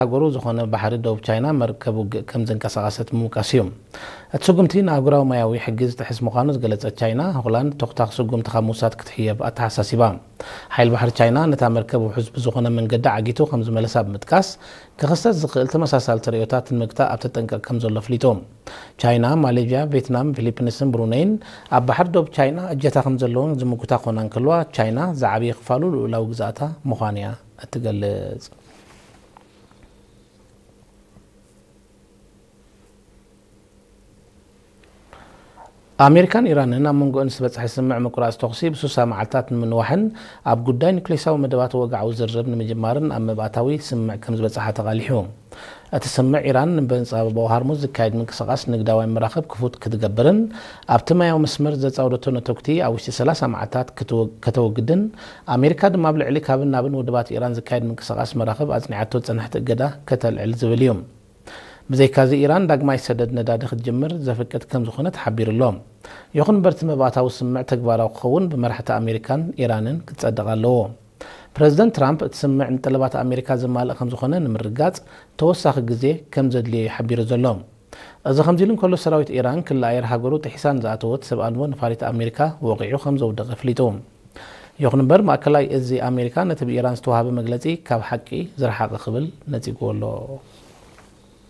ሃገሩ ዝኾነ ባሕሪ ደቡብ ቻይና መርከብ ውግእ ከም ዘንቀሳቐሰት ምውቃስ እዩ። እቲ ስጉምቲ ንኣህጉራዊ ማያዊ ሕጊ ዝጥሕስ ምዃኑ ዝገለጸት ቻይና፣ ሆላንድ ተኹታኽ ስጉምቲ ካብ ምውሳድ ክትሕየብ ኣተሓሳሲባ። ሓይል ባሕሪ ቻይና ነታ መርከብ ውሑስ ብዝኾነ መንገዲ ዓጊቱ ከም ዝመለሳ ብምጥቃስ፣ ክኽሰት ዝኽእል ተመሳሳሊ ተርእዮታት ንምግታእ ኣብ ተጠንቀቕ ከም ዘሎ ኣፍሊጡ። ቻይና፣ ማሌዥያ፣ ቬትናም፣ ፊሊፒንስን ብሩነይን ኣብ ባሕሪ ዶብ ቻይና እጀታ ከም ዘለዎን ዝምጉታ ክኾና እንከለዋ፣ ቻይና ዝዓበየ ክፋሉ ልኡላዊ ግዝኣታ ምዃኑ እያ እትገልጽ። ኣሜሪካን ኢራንን ኣብ መንጎኦን ዝተበጽሐ ስምምዕ ምቁራጽ ተኹሲ ብሱሳ መዓልታት ንምንዋሕን ኣብ ጉዳይ ኒክሌሳዊ መደባት ወግዓዊ ዝርርብ ንምጅማርን ኣብ ምብኣታዊ ስምምዕ ከም ዝበጽሓ ተቓሊሑ። እቲ ስምምዕ፣ ኢራን ንበንጻ ባብ ሆርሙዝ ዝካየድ ምንቅስቓስ ንግዳውያን መራኽብ ክፉት ክትገብርን ኣብቲ ማያዊ መስመር ዘጻወደቶ ነተጉቲ ኣብ ውሽጢ ሰላሳ መዓልታት ክትወ-፣ ከተወግድን፣ ኣሜሪካ ድማ ኣብ ልዕሊ ካብን ናብን ወደባት ኢራን ዝካየድ ምንቅስቓስ መራኽብ ኣጽኒዓቶ ዝጸንሐት እገዳ ከተልዕል ዝብል እዩ። ብዘይካዚ፣ ኢራን ዳግማይ ሰደድ ነዳዲ ክትጅምር ዘፍቅድ ከም ዝኾነ ተሓቢሩ ኣሎ። ይኹን እምበር፣ እቲ መባእታዊ ስምምዕ ተግባራዊ ክኸውን ብመራሕቲ ኣሜሪካን ኢራንን ክጸድቕ ኣለዎ። ፕረዚደንት ትራምፕ፣ እቲ ስምምዕ ንጠለባት ኣሜሪካ ዘማልእ ከም ዝኾነ ንምርግጋጽ ተወሳኺ ግዜ ከም ዘድልዮ እዩ ሓቢሩ ዘሎ። እዚ ከምዚ ኢሉ እንከሎ፣ ሰራዊት ኢራን ክሊ ኣየር ሃገሩ ጥሒሳ ንዝኣተወት ሰብ ኣልቦ ነፋሪት ኣሜሪካ ወቒዑ ከም ዘውደቐ ኣፍሊጡ። ይኹን እምበር፣ ማእከላይ እዚ ኣሜሪካ ነቲ ብኢራን ዝተዋህበ መግለጺ ካብ ሓቂ ዝረሓቐ ክብል ነጺግዎ ኣሎ።